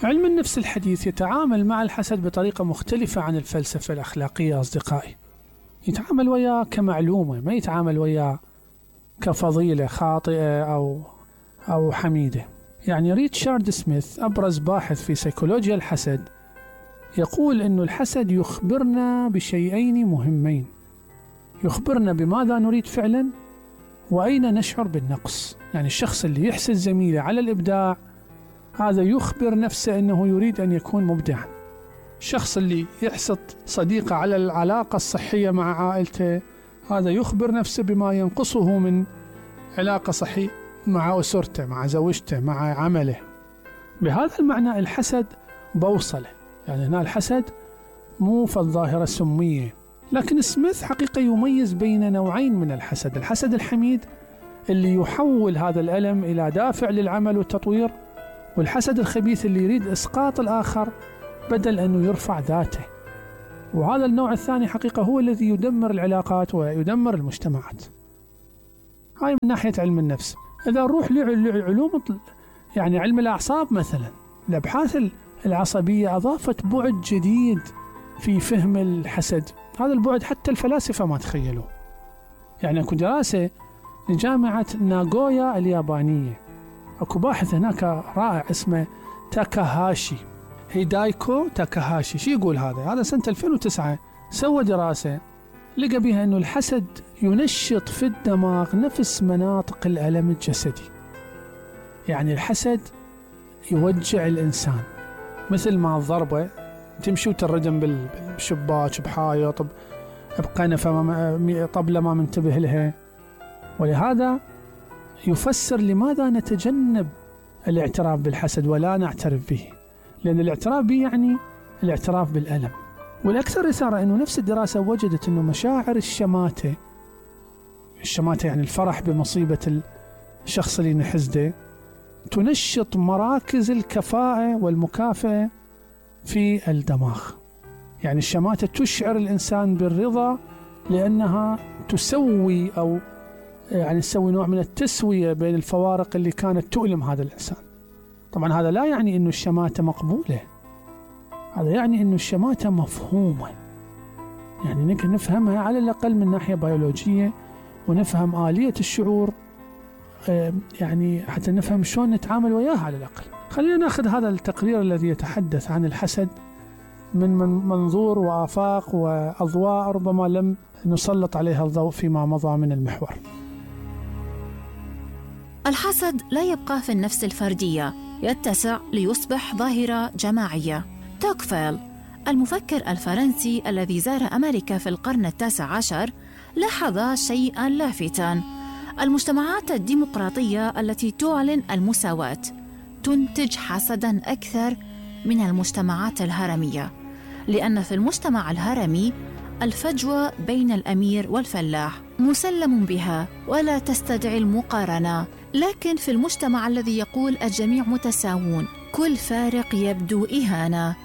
علم النفس الحديث يتعامل مع الحسد بطريقة مختلفة عن الفلسفة الأخلاقية أصدقائي. يتعامل وياه كمعلومة، ما يتعامل وياه كفضيلة خاطئة أو حميدة. يعني ريتشارد سميث أبرز باحث في سيكولوجيا الحسد يقول أن الحسد يخبرنا بشيئين مهمين: يخبرنا بماذا نريد فعلا، وأين نشعر بالنقص. يعني الشخص اللي يحسد زميله على الإبداع هذا يخبر نفسه أنه يريد أن يكون مبدعا. الشخص اللي يحسد صديقه على العلاقة الصحية مع عائلته هذا يخبر نفسه بما ينقصه من علاقة صحية مع أسرته، مع زوجته، مع عمله. بهذا المعنى الحسد بوصله، يعني هنا الحسد مو فالظاهرة سمية. لكن سميث حقيقة يميز بين نوعين من الحسد: الحسد الحميد اللي يحول هذا الألم إلى دافع للعمل والتطوير، والحسد الخبيث اللي يريد إسقاط الآخر بدل أنه يرفع ذاته. وهذا النوع الثاني حقيقة هو الذي يدمر العلاقات ويدمر المجتمعات. هاي من ناحية علم النفس. إذا نروح لعلوم يعني علم الأعصاب مثلا، الأبحاث العصبية أضافت بعد جديد في فهم الحسد. هذا البعد حتى الفلاسفة ما تخيلوه. يعني أكو دراسة لجامعة ناغويا اليابانية، أكو باحث هناك رائع اسمه تاكاهاشي، هيدايكو تاكاهاشي. شو يقول هذا سنة 2009 سوى دراسة لقى بها أنه الحسد ينشط في الدماغ نفس مناطق الألم الجسدي. يعني الحسد يوجع الإنسان مثل ما الضربة تمشي وتردم بالشباك بحايط بقنفة طبلة ما منتبه لها. ولهذا يفسر لماذا نتجنب الاعتراف بالحسد ولا نعترف به، لأن الاعتراف به يعني الاعتراف بالألم. والأكثر إثارة أنه نفس الدراسة وجدت أنه مشاعر الشماتة يعني الفرح بمصيبة الشخص اللي نحسده تنشط مراكز الكفاءة والمكافأة في الدماغ. يعني الشماتة تشعر الإنسان بالرضا لأنها تسوي أو يعني تسوي نوع من التسوية بين الفوارق اللي كانت تؤلم هذا الإنسان. طبعا هذا لا يعني أنه الشماتة مقبولة، هذا يعني أنه الشماتة مفهومة، يعني نقدر نفهمها على الأقل من ناحية بيولوجية، ونفهم آلية الشعور يعني حتى نفهم شلون نتعامل وياها على الأقل. خلينا نأخذ هذا التقرير الذي يتحدث عن الحسد من منظور وآفاق وأضواء ربما لم نسلط عليها الضوء فيما مضى من المحور. الحسد لا يبقى في النفس الفردية، يتسع ليصبح ظاهرة جماعية. توكفيل المفكر الفرنسي الذي زار أمريكا في القرن 19 لاحظ شيئاً لافتا: المجتمعات الديمقراطية التي تعلن المساواة تنتج حسداً أكثر من المجتمعات الهرمية، لأن في المجتمع الهرمي الفجوة بين الأمير والفلاح مسلم بها ولا تستدعي المقارنة. لكن في المجتمع الذي يقول الجميع متساوون كل فارق يبدو إهانة.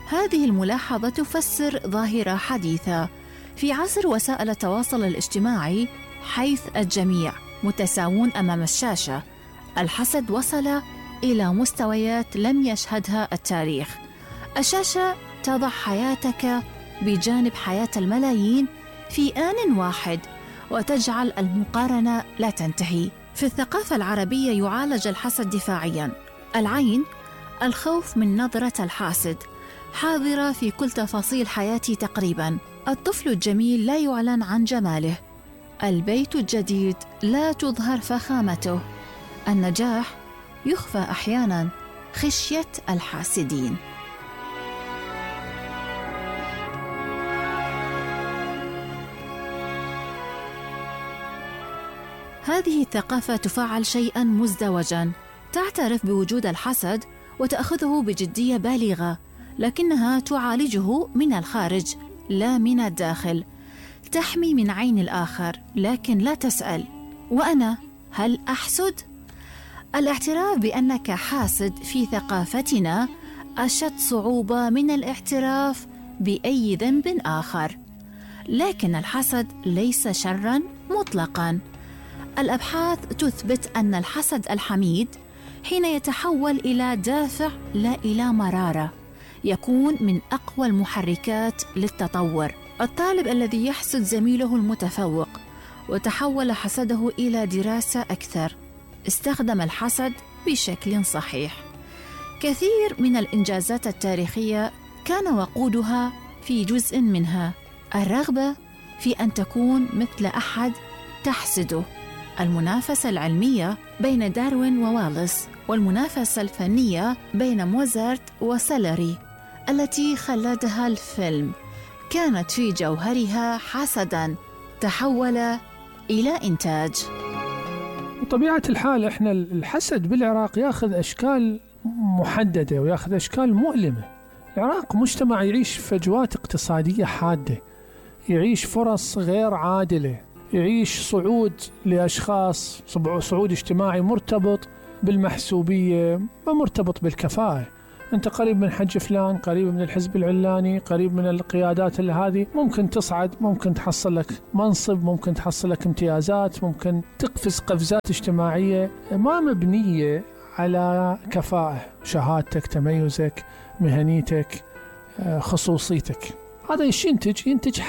هذه الملاحظة تفسر ظاهرة حديثة في عصر وسائل التواصل الاجتماعي، حيث الجميع متساوون أمام الشاشة. الحسد وصل إلى مستويات لم يشهدها التاريخ. الشاشة تضع حياتك بجانب حياة الملايين في آن واحد، وتجعل المقارنة لا تنتهي. في الثقافة العربية يعالج الحسد دفاعياً. العين، الخوف من نظرة الحاسد، حاضرة في كل تفاصيل حياتي تقريباً. الطفل الجميل لا يعلن عن جماله. البيت الجديد لا تظهر فخامته. النجاح يخفى أحياناً خشية الحاسدين. هذه الثقافة تفعل شيئاً مزدوجاً، تعترف بوجود الحسد وتأخذه بجدية بالغة، لكنها تعالجه من الخارج لا من الداخل. تحمي من عين الآخر لكن لا تسأل: وأنا هل أحسد؟ الاعتراف بأنك حاسد في ثقافتنا أشد صعوبة من الاعتراف بأي ذنب آخر. لكن الحسد ليس شراً مطلقاً. الأبحاث تثبت أن الحسد الحميد حين يتحول إلى دافع لا إلى مرارة، يكون من أقوى المحركات للتطور. الطالب الذي يحسد زميله المتفوق وتحول حسده إلى دراسة أكثر، استخدم الحسد بشكل صحيح. كثير من الإنجازات التاريخية كان وقودها في جزء منها الرغبة في أن تكون مثل أحد تحسده. المنافسة العلمية بين داروين وواليس، والمنافسة الفنية بين موزارت وسالري التي خلدها الفيلم، كانت في جوهرها حسداً تحول إلى إنتاج. بطبيعة الحال إحنا الحسد بالعراق يأخذ أشكال محددة ويأخذ أشكال مؤلمة. العراق مجتمع يعيش فجوات اقتصادية حادة، يعيش فرص غير عادلة، يعيش صعود لأشخاص، صعود اجتماعي مرتبط بالمحسوبية ومرتبط بالكفاءة. أنت قريب من حج فلان، قريب من الحزب العلاني، قريب من القيادات هذه، ممكن تصعد، ممكن تحصل لك منصب، ممكن تحصل لك امتيازات، ممكن تقفز قفزات اجتماعية ما مبنية على كفاءة، شهادتك، تميزك، مهنيتك، خصوصيتك. هذا ينتج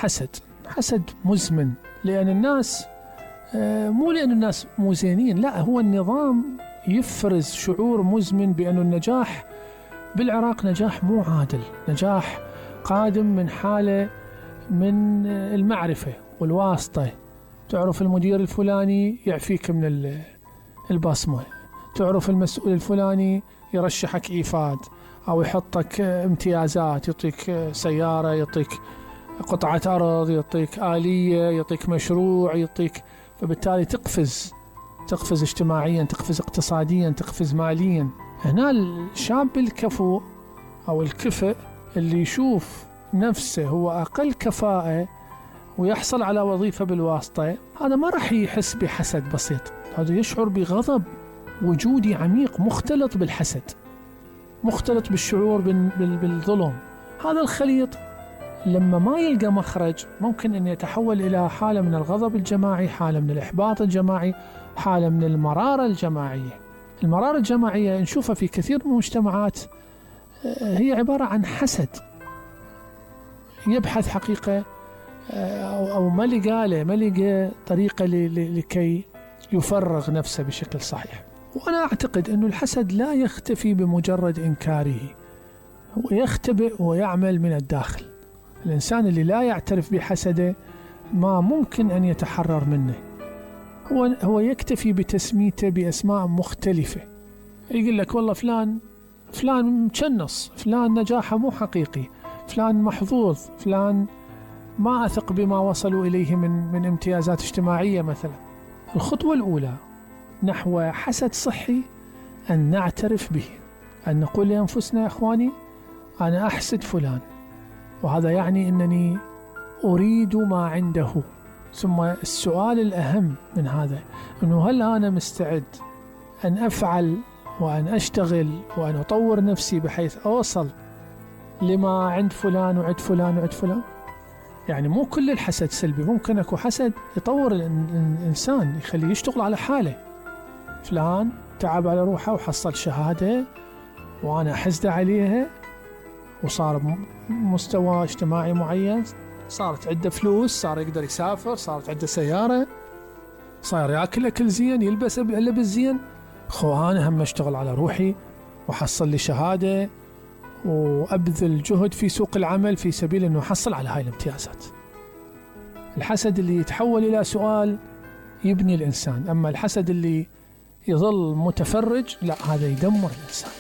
حسد مزمن، لأن الناس مو لأن الناس مو زينين، لا، هو النظام يفرز شعور مزمن بأن النجاح بالعراق نجاح مو عادل، نجاح قادم من حالة من المعرفة والواسطة. تعرف المدير الفلاني يعفيك من البصمة، تعرف المسؤول الفلاني يرشحك إيفاد أو يحطك امتيازات، يعطيك سيارة، يعطيك قطعة أرض، يعطيك آلية، يعطيك مشروع، يعطيك، فبالتالي تقفز اجتماعيا، تقفز اقتصاديا، تقفز ماليا. هنا الشاب الكفؤ أو الكفء اللي يشوف نفسه هو أقل كفاءة ويحصل على وظيفة بالواسطة، هذا ما راح يحس بحسد بسيط، هذا يشعر بغضب وجودي عميق مختلط بالحسد، مختلط بالشعور بالظلم. هذا الخليط لما ما يلقى مخرج ممكن أن يتحول إلى حالة من الغضب الجماعي، حالة من الإحباط الجماعي، حالة من المرارة الجماعية. المرارة الجماعية نشوفها في كثير من المجتمعات، هي عبارة عن حسد، يبحث حقيقة أو ما لقى طريقة لكي يفرغ نفسه بشكل صحيح. وأنا أعتقد أن الحسد لا يختفي بمجرد إنكاره، هو يختبئ ويعمل من الداخل. الإنسان اللي لا يعترف بحسده ما ممكن أن يتحرر منه، هو يكتفي بتسميته بأسماء مختلفة، يقول لك والله فلان مكنص، فلان نجاحه مو حقيقي، فلان محظوظ، فلان ما أثق بما وصلوا إليه من امتيازات اجتماعية مثلا. الخطوة الأولى نحو حسد صحي أن نعترف به، أن نقول لأنفسنا يا أخواني أنا أحسد فلان، وهذا يعني أنني أريد ما عنده. ثم السؤال الأهم من هذا أنه هل أنا مستعد أن أفعل وأن أشتغل وأن أطور نفسي بحيث أوصل لما عند فلان وعند فلان وعند فلان. يعني مو كل الحسد سلبي، ممكن أكو حسد يطور الإنسان، يخليه يشتغل على حاله. فلان تعب على روحه وحصل شهادة وأنا أحسد عليها، وصار مستوى اجتماعي معين، صارت عنده فلوس، صار يقدر يسافر، صارت عنده سيارة، صار يأكل أكل زين، يلبس لبس زين. أنا هم أشتغل على روحي وحصل لي شهادة وأبذل جهد في سوق العمل في سبيل أنه أحصل على هاي الامتيازات. الحسد اللي يتحول إلى سؤال يبني الإنسان، أما الحسد اللي يظل متفرج لا، هذا يدمر الإنسان.